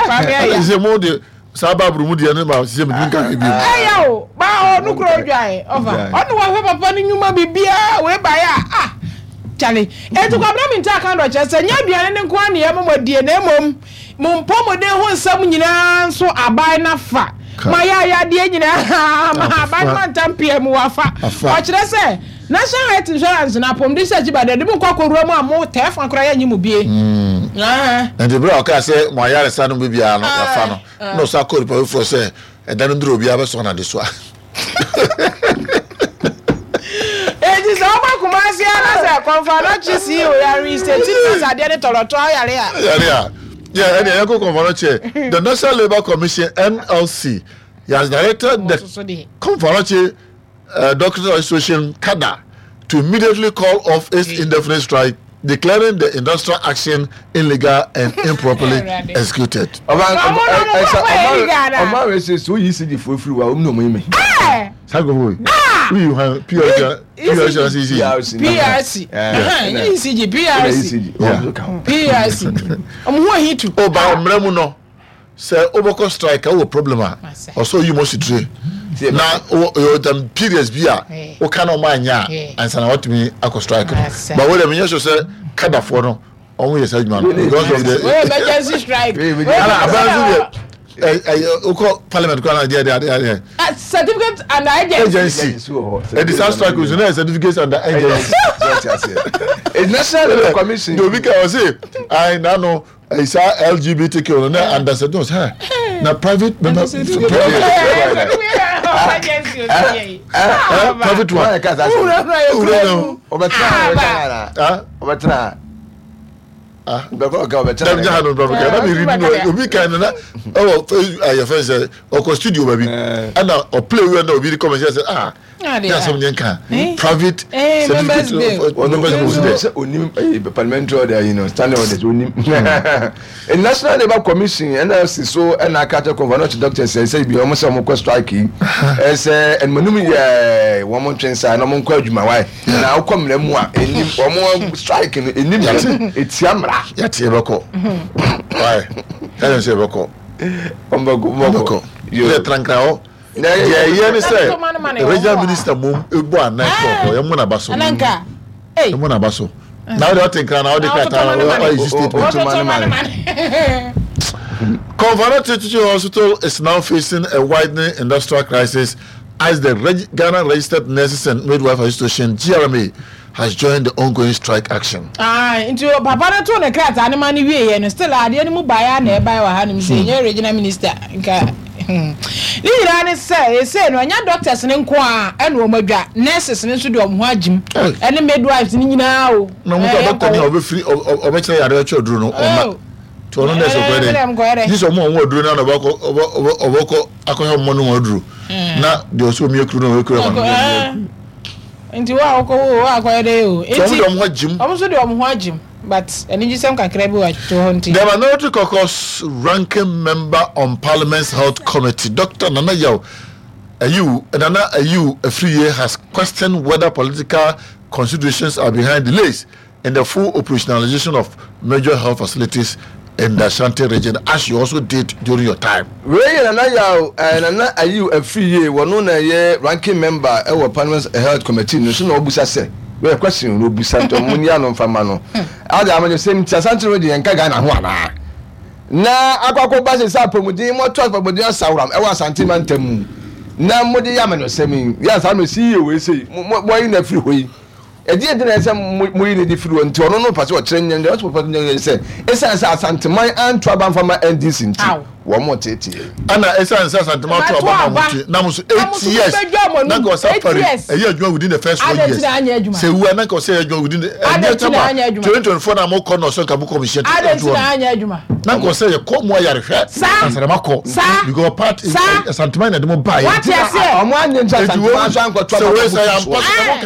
Kwame ɛya. Sɛ mo de saa baaburo mu deɛ no ma sɛ metumi nka hwɛ bio. Ɛya o, ba ɔno kura odwae ɔfa. Ɔno wahwɛ papa no nnwuma biribiara wei baeɛ a ah kyale. Enti Kwabena Mintah ka dɔ kyerɛ sɛ nyɛ aduane no nko ara na yɛma mo adie na mmom mo mpɔmuden ho nsɛm nyinaa nso aban no afa. Mo ayaayadeɛ nyinaa ma aban no mantam PM wafa. Ɔkyerɛ sɛ National Health Insurance no apɔmuden sɛ akyi ba deɛ de mo nkɔ akɔwura mu a mo tɛɛ fa koraa yɛnnye mo bie. Nti berɛ a ɔkaa sɛ mo ayaresa no baabiara no wafa no na ɔsan kɔɔ nipa foforɔ sɛ ɛda no duru obiara bɛsɔn n'adesoa. Enti sɛ ɔba Kumasi a na sɛ Kɔnfanɔkye CEO yare state na sɛ adeɛ ne tɔlɔtɔ ayare a. Yare a. Yeah, ɛnna yɛnkɔ Kɔnfanɔkye. The National Labour Commission NLC has directed the Kɔnfanɔkye Doctors Association CADA to immediately call off its indefinite strike declaring the industrial action illegal and improperly executed. Ɔma wei sɛ sɛ woyi ECG foɔ firi hɔ a wɔn na wɔn yi me. Saa nkurɔfoɔ wei. Woyi hwan PRC PRC anaa ECG? PRC ECG PRC PRC wɔn ho ahi tu. O ba mmerɛ mu no sɛ wobɛkɔ strike a wowɔ problem a ɔsɛ oyi mo sitire na wɔ tam periods bi a woka na ɔmo anyɛ a ansa na watumi akɔ strike no but wo deɛ menyɛ sure sɛ kadafoɔ no ɔmo yɛ saa adwuma no because of the Wey emergency strike. Ana aban nso deɛ ɛyɛ wokɔ parliament koraa na deɛ deɛ adeɛ adeɛ Certificate under agency. Agency ɛdi saa strike nso na yɛ certificate under agency. National Labour Commission. Deɛ obi ka ɔse ayi nano ɛyi saa LGBTQ no na under certificate ɔsɛ na private member private one. Wura no. Ɔbɛtena. Ɔbɛtena. Ah, dɛm gya ha no brabɔ kɛ na mi redi no obi kan no na ɛwɔ ɛyɛ fɛn sɛ ɔkɔ studio baabi ɛna ɔplay wia na obi di comment sɛ ah ne asɛm nyɛ nka private certificate of members bill sɛ sɛ onim parliamentary order yi no standing orders onim National Labour Commission NLC so ɛna aka kyerɛ kɔnfa doctors sɛ sɛ bi wɔn sɛ wɔn kɔ strike yi ɛsɛ ɛnumɛnum yɛ wɔn ntwe nsa na wɔn nkɔ adwuma wae. Na wokɔ mmara mu a ɛnim wɔn strike no ɛnim ɛtia mmara. Yɛte yɛbɛkɔ wae ɛyɛ sɛ yɛbɛkɔ ɔmbɛkɔ yɛ trankra hɔ deɛ ɛyɛ ne sɛ regional minister mom ɛbɔ anan kɔ hɔ yɛmmɔ n'aba so yɛmmɔ n'aba so na wode ɔte nkra na wode krataa ɔyɛ si statement. Komfo Anokye Teaching Hospital is now facing a widening industrial crisis as the Reg Ghana Registered Nurses and Midwife Association, GRMA, has joined the ongoing strike action. Ae, nti papa no too ne krataa no ma no wieɛ no, still adeɛ no mu baeɛ a na ɛbaeɛ wɔ hanom sɛ ɛnyɛ regional minister nka hmm. Ne nyinaa ne sɛ ɛsei no ɛnyɛ doctors no nko a ɛna wɔn adwa, nurses no nso de wɔn ho agyim ɛne midwives no nyinaa o. Na wɔn nso doctor ni a ɔbɛfiri ɔbɛkyerɛ yareɛ ɔkyerɛ duro no ɔma. Nti ɔno nurse ɔkɔyɛ dɛ. Gye sɛ ɔmo a wɔn aduro no na ɔbɛkɔ ɔbɛkɔ akɔhwɛ ɔmo nom aduro na deɛ ɔsɛ ɔmia kuro no ɔyɛ kuro ama no. Nti wo a wokɔ wo akɔyɛ dɛ o. Nti ɔmo de ɔmo ho agyim. Ɔmo nso de ɔmo ho agyim but anigyesɛm kakra bi wɔ to hɔ nti. The Minority Caucus ranking member on Parliament's Health Committee, Dr. Nana Yaw Ayiw, Nana Ayiw Afriyie has questioned whether political considerations are behind delays in the full operationalization of major health facilities in the Ashanti region as you also did during your time. Wei yɛ Nana Yaw eh, Nana Ayew Afriyie, wɔno na ɛyɛ ranking member ɛwɔ Parliament Health Committee no so na ɔbusa sɛ, wei yɛ question na ɔbusa nti ɔmo nyi ano nfa ma no. Ade amanyɔsɛm nti Asante region yɛnka Ghana ho anaa? Na akɔ akɔba sɛ sɛ apɔmuden moato apɔmuden asaworam ɛwɔ Asante mantam mu na mode yɛ amanyɔsɛm yi, yɛ ansa na CEO wei sei mo mo moayi no afiri hɔ yi. Ɛdeɛn nti na ɛsɛ sɛ moyi no adi firi hɔ? Nti ɔno no pɛ sɛ ɔkyerɛ nyɛ deɛ ɔsɛ pɛ nyɛ sɛ ɛsiane sɛ Asanteman anto aba mfa ma NDC nti wɔn teetee yɛn. Ɛna ɛsiane sɛ Asanteman ato aba ma wɔn nti na mo nso 8 years na nka ɔsɛ afari ɛyɛ adwuma within the first 4 years sɛ ewu a na nka ɔsɛ ɛyɛ adwuma within the ɛnyɛ tama 2024 na mo kɔ na ɔsɛ nka mo kɔ mi hyɛ to hɔ na nka ɔsɛ yɛ kɔ mu ayarehwɛ ansa na makɔ because part Asanteman na ɛde mo ba yɛ nti ɔmo anyɛ nti Asanteman nso ankɔto aba ma mo fi soɔ.